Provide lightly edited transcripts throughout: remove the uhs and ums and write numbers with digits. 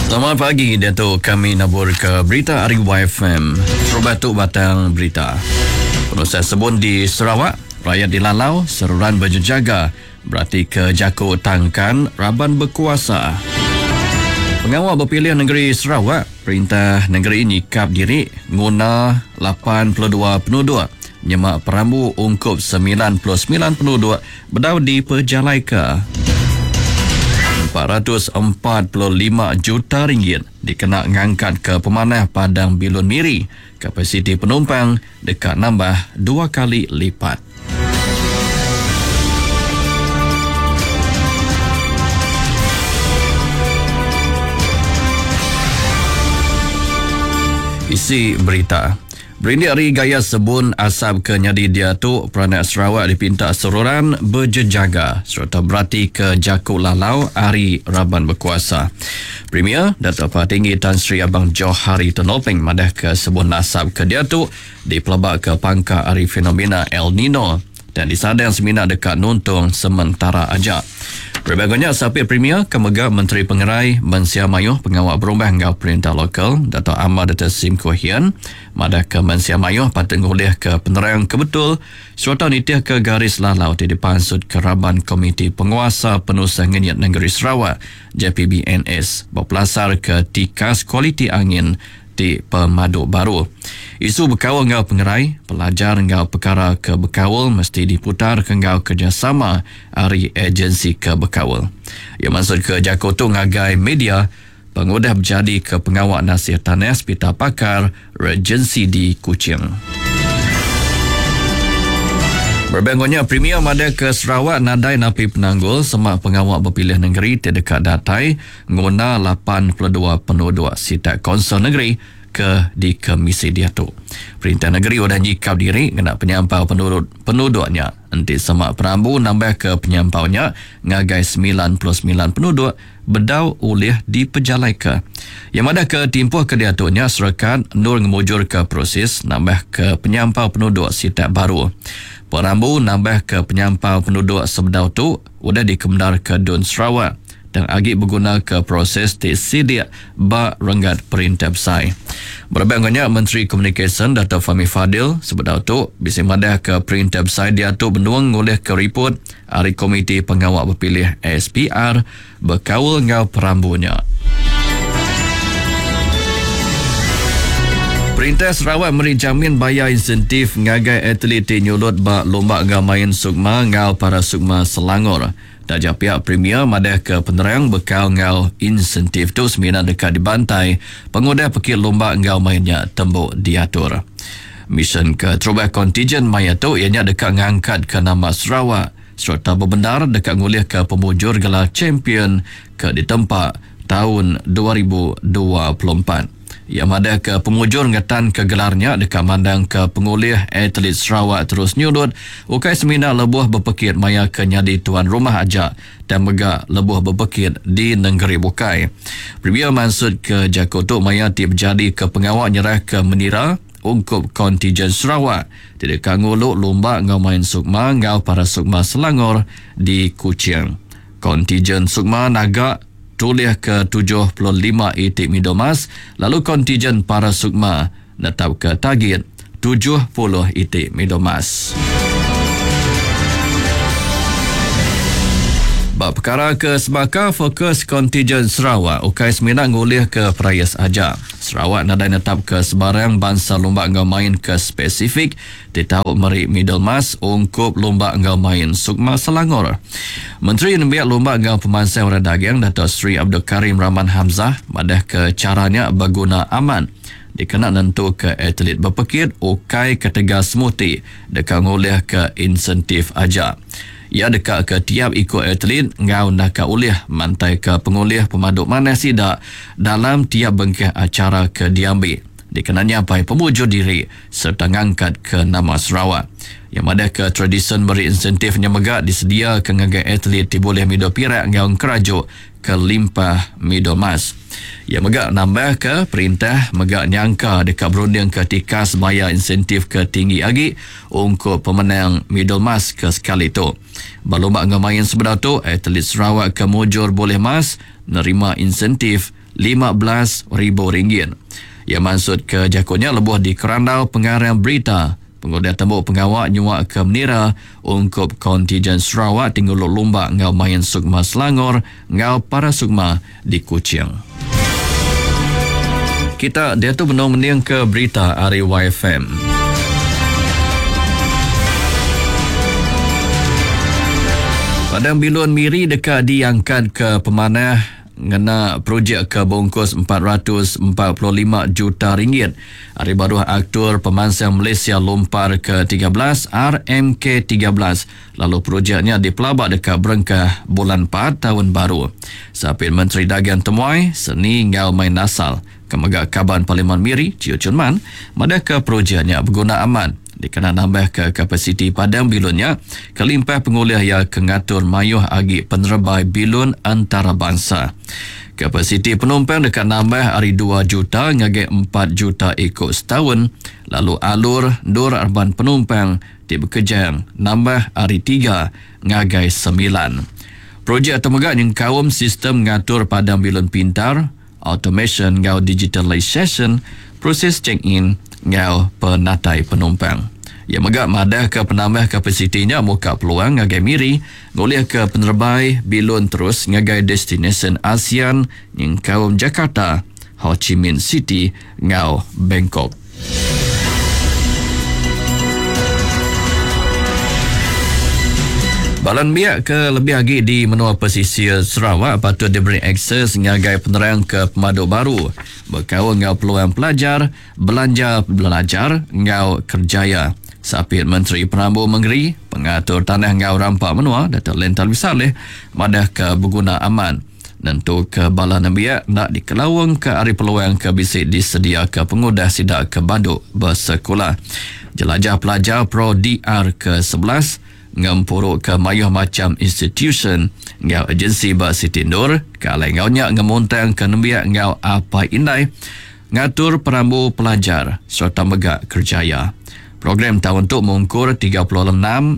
Selamat pagi diatu kami nabur ke berita ari YFM. Terubah tu batang berita. Penusah sebun di Sarawak, rakyat dilalau seruran bejejaga berati ke jaku tangkan raban bekuasa. Pengawa bepilih negeri Sarawak, perintah negeri nyikap diri nguna 82 penuduk nyema perambu ungkup 99 penuduk bedau dipejalaika. 445 juta ringgit dikena ngangkatka pemanah Padang Bilun Miri, kapasiti penumpang deka nambah dua kali lipat. Isi berita. Berindik ari gaya sebun asap ke nyadi diatu, peranak Sarawak dipinta seruran bejejaga sereta beratika jaku lalau ari raban bekuasa. Premier, Datuk Patinggi Tan Sri Abang Johari Tun Openg madahka sebun asap ke diatu dipelabaka pangka ari fenomena El Nino dan disadang semina deka nuntung sementara aja. Berebak nya, Sapit Premier ke mega Menteri Pengerai Mensia Mayuh Pengawa Berumah enggau Perintah Lokal, Datuk Amar Doktor Sim Kui Hian madahka mensia mayuh patut ngulihka penerang ke betul sereta nitihka garis lalau ti dipansutka raban Komiti Penguasa Penusah Ngenyit Nengeri Sarawak, JPBNS, bepelasarka tikas kualiti angin ti pemadu baru. Isu bekaul enggau pengerai, pelajar enggau pekara ke bekaul mesti diputarka enggau kerejasama ari agensi ke bekaul. Iya mansutka jaku tu ngagai media pengudah bejadika pengawa nasih tanah Sepital Pakar Regency di Kuching. Berebak enggau nya, Premier madahka Sarawak nadai napi penanggul sema pengawa bepilih nengeri ti deka datai nguna 82 penuduk sitak Konsol Negeri ke dikemisi diatu. Perintah negeri udah nyikap diri ngena penyampau penurut penuduk nya enti sema perambu nambahka penyampau nya ngagai 99 penuduk bedau ulih dipejalaika. Iya madahka timpuh ke diatu nya serekat endur ngemujurka proses nambahka penyampau penuduk sitak baru. Perambu nambahka penyampau penuduk sebedau tu udah dikemendarka Dun Sarawak tang agi begunaka proses ti silik ba renggat perintah besai. Berebak enggau nya, Menteri Komunikasyen Datuk Fahmi Fadil sebedau tu bisi madahka perintah besai diatu benung ngulihka ripot ari Komiti Pengawa Bepilih SPR bekaul enggau perambu nya. Perintah Sarawak meri jamin bayar insentif ngagai atlet ti nyulut ba Lumba enggau Main Sukma enggau Para Sukma Selangor. Taja pia Premier madahka penerang bekal enggau insentif tu semina deka dibantai pengudah pekit lumba enggau main nya tembu diatur. Misyen keterubah kontijen maya tu iya nya deka ngangkatka nama Sarawak sereta bebendar deka ngulihka pemujur gelar champion ke ditempa taun 2024. Iya madahka pemujur ngetanka gelar nya deka mandangka pengulih atlet Sarawak terus nyulut ukai semina lebuh bepekit maya ke nyadi tuan rumah aja tang mega lebuh bepekit di nengeri bukai. Premier mansutka jaku tu maya ti bejadika pengawa nyerahka menira ungkup kontijen Sarawak ti deka ngulu lumba enggau main Sukma enggau Para Sukma Selangor di Kuching. Kontijen Sukma naga tulih ke 75 iti midul mas lalu kontijen Para Sukma netapka tagit 70 iti midul mas. Ba pekara ke sebaka, fokus kontijen Sarawak ukai semina ngulihka perais aja. Sarawak nadai netapka sebarang bansa lumba enggau main ke spesifik ti tau meri midul mas ungkup lumba enggau main Sukma Selangor. Menteri Nembiak Lumba enggau Pemansang Orang Dagang Dato Sri Abdul Karim Rahman Hamzah madahka chara nya beguna amat dikena nentuka atlet bepekit ukai ketegal semuti deka ngulihka insentif aja. Iya deka ke tiap iku atlet enggau naka ulih mantaika pengulih pemadu manah sida dalam tiap bengkah achara ke diambi dikena nyapai pemujur diri sereta ngangkatka nama Sarawak. Iya madahka tradisyen meri insentif nya mega disediaka ngagai atlet ti bulih midul pirak enggau engkeraju kelimpah midul mas. Iya mega nambahka perintah mega nyangka deka berundingka tikas bayar insentif ke tinggi agi ungkup pemenang midul mas ke sekali tu. Ba lumba enggau main sebedau tu, atlet Sarawak ke mujur bulih mas nerima insentif. 15,000 ringgit. Iya mansutka jaku nya lebuh dikerandau pengarang berita pengudah tembu pengawa nyuaka menira ungkup kontijen Sarawak ti ngulu lumba enggau main Sukma Selangor enggau Para Sukma di Kuching. Kita diatu benung mendingka berita ari YFM. Padang Bilun Miri deka diangkatka pemanah ngena projek ke bungkus 445 juta ringgit ari baruh Aktur Pemansang Malaysia Lumpar ke 13 RMK 13 lalu projek nya dipelaba deka berengkah bulan 4 taun baru. Sapit Menteri Dagang Temuai, Seni enggau Main Asal ke mega Kaban Parlimen Miri, Chiew Chun Man, madahka projek nya beguna amat dikena nambahka kapasiti padang bilun nya kelimpah pengulih iya ke ngatur mayuh agi penerebai bilun entarabansa. Kapasiti penumpang deka nambah ari dua juta ngagai empat juta iku setaun lalu alur endur raban penumpang ti bekejang nambah ari tiga ngagai semilan. Projek tu mega nyengkaum sistem ngatur padang bilun pintar, automasyen enggau digitalisasyen proses check-in enggau penatai penumpang. Iya mega madahka penambah kapasiti nya muka peluang ngagai Miri ngulihka penerebai bilun terus ngagai destinasyen ASEAN nyengkaum Jakarta, Ho Chi Minh City enggau Bangkok. Bala nembiak ke lebih agi di menua pesisir Sarawak patut diberi akses ngagai penerang ke pemadu baru bekaul enggau peluang pelajar, belanja belajar enggau kerjaya. Sapit Menteri Perambu Mengeri, Pengatur Tanah enggau Rampa Menua Datuk Len Talwi Salleh madahka beguna amat nentuka bala nembiak enda dikelaungka ari peluang ke bisi disediaka pengudah sida ke badu besekula. Jelajah Pelajar Pro DR ke 11 ngempuruka mayuh macham institusyen enggau agensi ba siti endur ke alai enggau nya ngemuntangka nembiak enggau apai indai ngatur perambu pelajar sereta mega kerjaya. Program taun tu mungkur 36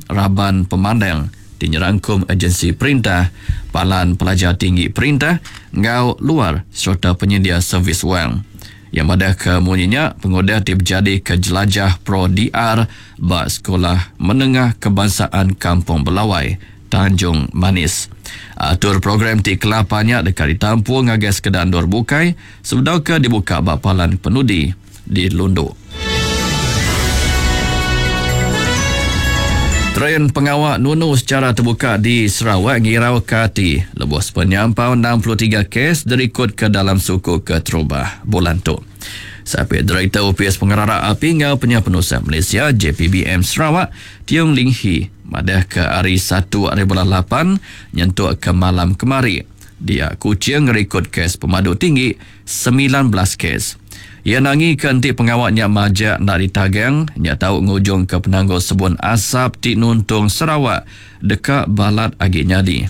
raban pemandang ti nyerangkum agensi perintah, palan pelajar tinggi perintah enggau luar sereta penyendia servis wang. Iya madahka munyi nya pengudah ti bejadika Jelajah Pro DR ba Sekolah Menengah Kebangsaan Kampung Belawai, Tanjung Manis. Atur program ti kelapa nya deka ditampung ngagai sekeda endur bukai sebedau ke dibuka ba palan penudi di Lundu. Trend pengawa nunu secara terbuka di Sarawak ngirauka ati lebuh sepenyampau 63 kes dirikodka dalam suku keterubah bulan tu. Sapit Direktor Opis Pengerara Api enggau Penyah Penusah Malaysia, JPBM Sarawak, Tiong Ling Hee madahka ari satu ari bulan lapan nyentuk ke malam kemari, dia Kuching ngerikod kes pemadu tinggi 19 kes. Iya nangika enti pengawa nya majak enda ditagang, nya tau ngujungka penanggul sebun asap ti nuntung Sarawak deka balat agi nyadi.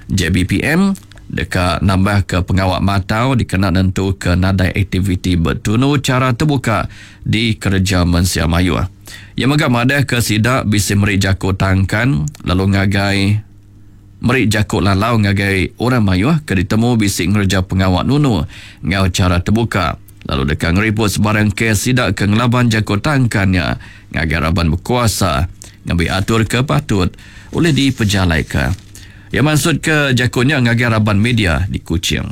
JBPM deka nambahka pengawa matau dikena nentuka nadai aktiviti betunu chara tebuka dikereja mensia mayuh. Iya mega madahka sida bisi meri jaku tangkan lalu ngagai Meri jaku lalau ngagai orang mayuh ke ditemu bisi ngereja pengawa nunu enggau chara tebuka lalu deka ngeriput sebarang kes sida ke ngelaban jaku tangkan nya ngagai raban bekuasa ngambi atur ke patut ulih dipejalaika. Iya mansutka jaku nya ngagai raban media di Kuching.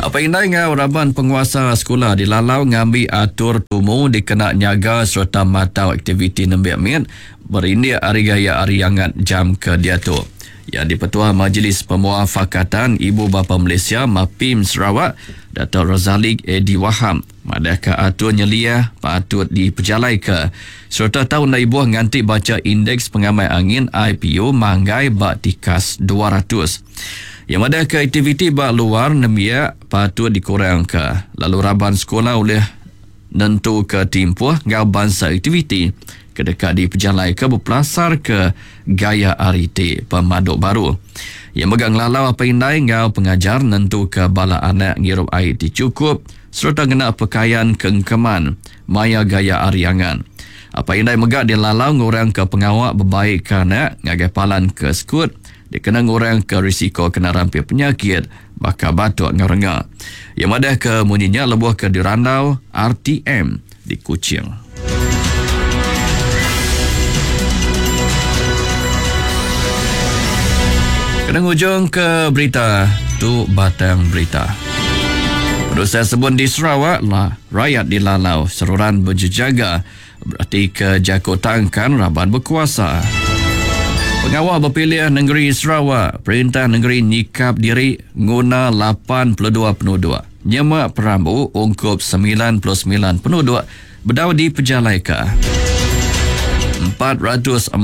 Apai indai enggau raban penguasa sekula dilalau ngambi atur tumu dikena nyaga sereta matau aktiviti nembiak mit berindik ari gaya hari angat jam ke diatu. Iya dipetua Majlis Pemuafakatan Ibu Bapa Malaysia, MAPIM, Sarawak, Dato Razali Edi Wahab madahka atur nyeliah patut dipejalaika sereta tau enda ibuh nganti bacha Indeks Pengamai Angin IPU manggai ba tikas 200. Iya madahka aktiviti ba luar nembiak patut dikurangka lalu raban sekula ulih nentuka timpuh enggau bansa aktiviti ke deka dipejalaika bepelasarka gaya hari ti pemadu baru. Iya mega ngelalau apai indai enggau pengajar nentuka bala anak ngirup ai ti chukup sereta ngena pekayan ke engkeman maya gaya hari angat. Apai indai mega dilalau ngurangka pengawa bebaika anak ngagai palan ke sekut. dikena ngurangka risiko kena rampit penyakit baka batuk enggau renga. Iya madahka munyi nya lebuh ke dirandau RTM di Kuching. Kena ngujung ke berita tu batang berita. Penusah sebun di Sarawak lah rayat dilalau seruran bejejaga beratika jaku tangkan raban bekuasa. Pengawa bepilih nengeri Sarawak, perintah nengeri nyikap diri nguna 82 penuduk nyema perambu ungkup 99 penuduk bedau dipejalaika. 445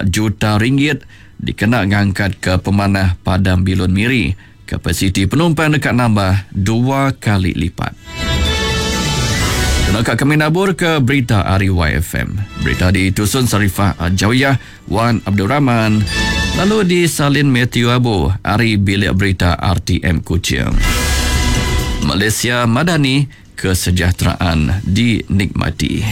juta ringgit dikena ngangkatka pemanah Padang Bilun Miri, kapasiti penumpang deka nambah dua kali lipat. Kena ka kami nabur ke berita ari YFM. Berita ditusun Sarifah Jawiyah Wan Abdul Rahman lalu disalin Matthew Abu ari Bilik Berita RTM Kuching. Malaysia Madani kesejahteraan dinikmati.